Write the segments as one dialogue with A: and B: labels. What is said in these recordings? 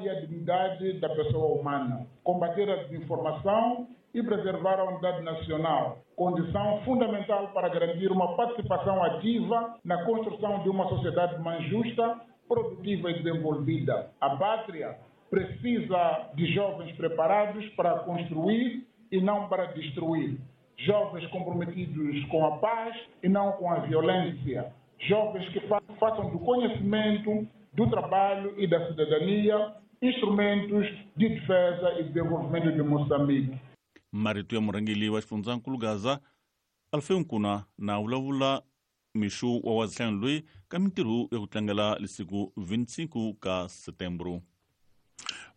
A: e a dignidade da pessoa humana, combater a desinformação e preservar a unidade nacional, condição fundamental para garantir uma participação ativa na construção de uma sociedade mais justa, produtiva e desenvolvida. A pátria precisa de jovens preparados para construir e não para destruir. Jovens comprometidos com a paz e não com a violência. Jovens que façam do conhecimento, do trabalho e da cidadania instrumentos de defesa e desenvolvimento de Moçambique.
B: Marito ya murhangeri wa xifundzankulu Gaza Alfeu Nkuna na vulavula mixo wa wazihlanu loyi ka mintirho ya ku tlangela lisiku 25 ka Setembro.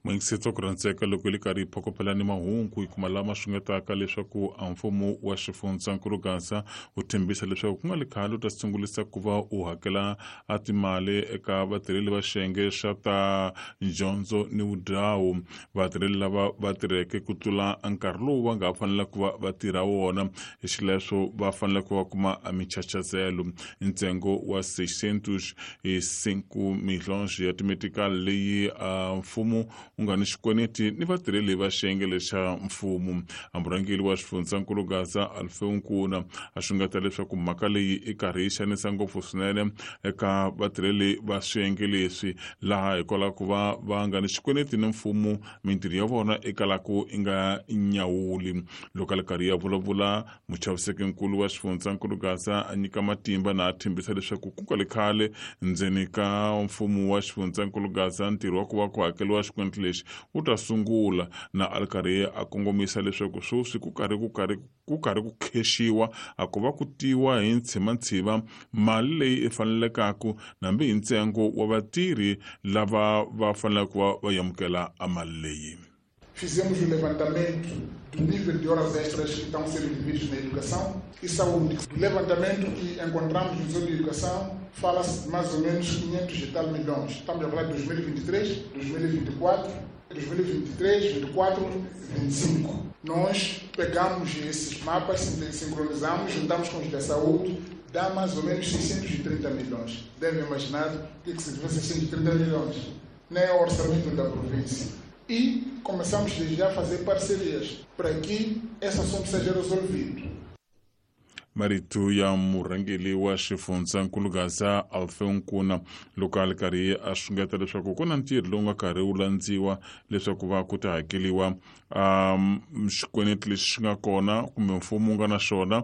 C: Mwingisetso ku rhandzeka loko yi ri karhi yi phokopela ni mahungu yi kuma lama xungetaka leswaku a mfumo wa xifundzankulu Gaza wu tshembisa leswaku ku nga li khale u ta sungulisa ku va u hakela a timali eka vatirheli va xiyenge xa ta dyondzo ni vudhawu, vatirheli lava va tirheke ku tlula nkarhi lowu va nga fanela ku va va tirha wona, hi xileswo va fanele ku va kuma michachazelo. Ntsengo wa 605 milhons ya timetikali leyi mfumo wu nga ni xikweleti ni vatirheli va xiyenge lexa mfumo. Murhangeri wa xifundzankulu Gaza Alfeu Nkuna a xungeta leswaku mhaka leyi i karhi yi xanisa ngopfu swinene eka vatirheli va swiyenge leswi, laha hikwalaho ku va va nga ni xikweleti ni mfumo mintirho ya vona i kalaku i nga nyawuli. Loko a ri karhi ya vulavula, muchavisekinkulu wa xifundzankulu Gaza a nyika matimba na a tshembisa leswaku ku nga le khale ndzeni ka mfumo wa xifundzankulu Gaza ntirho wa ku va ku hakeriwa xikweleti lexi wu ta sungula, na a ri karhi a kongomisa leswaku sweswi ku karhi ku karhi ku karhi ku khexiwa a ku va ku tiwa hi ntshimantshiva mali leyi i fanelekaku nambi hi ntsengo wa vatirhi lava va faneleke ku va va amukela a mali leyi.
A: Fizemos o levantamento do nível de horas extras que estão sendo devidos na educação e saúde. Do levantamento que encontramos no setor de educação, fala-se de mais ou menos 500 e tal milhões. Estamos a falar de 2023, 2024, 2023, 2024, 2025. Nós pegamos esses mapas, sincronizamos, juntamos com os da saúde, dá mais ou menos 630 milhões. Devem imaginar o que significa 630 milhões. Nem é o orçamento da província. E começamos desde já a fazer parcerias para que esse assunto seja resolvido.
C: Marito ya murhangeri wa xifundzankulu Gaza Alfeu Nkuna loko a ri karhi a xungeta leswaku ku na ntirho lowu nga karhi wu landziwa leswaku va ku ta hakeriwa xikweleti lexi xi nga kona kumbe mfumo wu nga na xona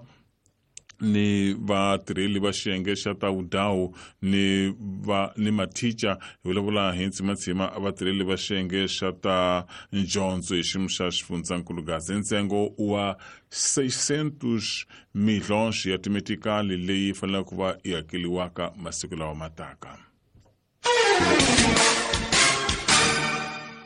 C: ni vatirheli va xiyenge xa ta vudhawu ni va ni mathicha, hi vulavula hi ntsimatsima vatirheli va xiyenge xa ta dyondzo hi xiyimo xa xifundzankulu Gaza, ntsengo wa 600 milhons ya timetikali leyi faneleke ku va yi hakeriwaka masiku lawa mataka.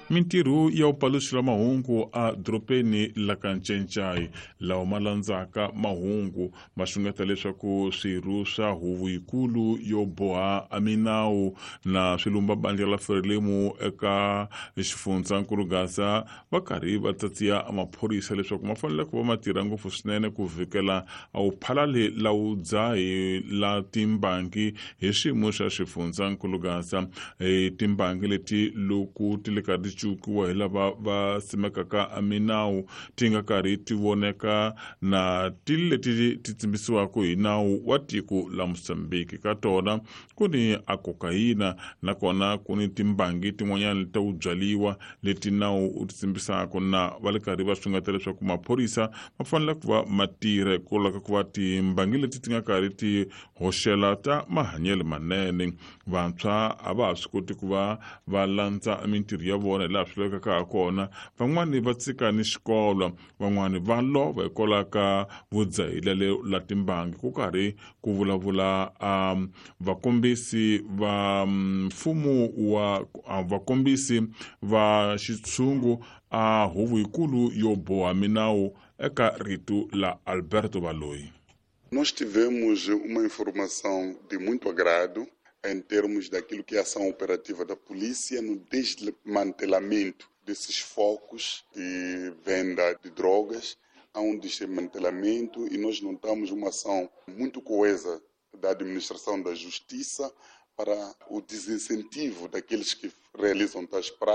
C: Mintirho ya vupaluxi mahungu a dorobeni la ka Ncencai lawa ma landzaka mahungu ma xungeta leswaku swirho swa huvo yikulu yo boha a minawu na swilumba bandla la Frelimo eka xifundzankulu Gaza va karhi va tsatsiya maphorisa leswaku ma fanele ku va ma tirha ngopfu swinene ku vhikela a wu phalali la wu dzahi la timbangi hi xiyimo xa xifundzankulu Gaza. Timbangi leti loko ti le karhi ti cukiwa hi lava va simekaka minawu ti nga karhi ti voneka na ti leti ti tsimbisiwaka hi nawu wa tiko la Mozambique. Ka tona ku ni a kokayina nakona ku ni timbangi tin'wanyana ta ku byaliwa leti nawu wu ti tsimbisaka, na va le karhi va xungeta leswaku maphorisa ma fanele ku va ma tirha hikwalaho ka ku va timbangi leti ti nga karhi ti hoxela ta mahanyelo manene. Vantshwa a va ha swi koti ku va va landza mintirho ya vona hi laha swi lavekaka ha kona, van'wani va tshika ni xikolo, van'wani va lova hikwalaho ka vudzahile la timbangi. Ku karhi ku vulavula vakombisi va mfumo wa vakombisi va xitshungu a huvo yikulu yo boha minawu eka rito la Alberto Baloyi.
D: Nós tivemos uma informação de muito agrado em termos daquilo que é a ação operativa da polícia no desmantelamento desses focos de venda de drogas. Há um desmantelamento e nós notamos uma ação muito coesa da administração da justiça para o desincentivo daqueles que realizam tais práticas.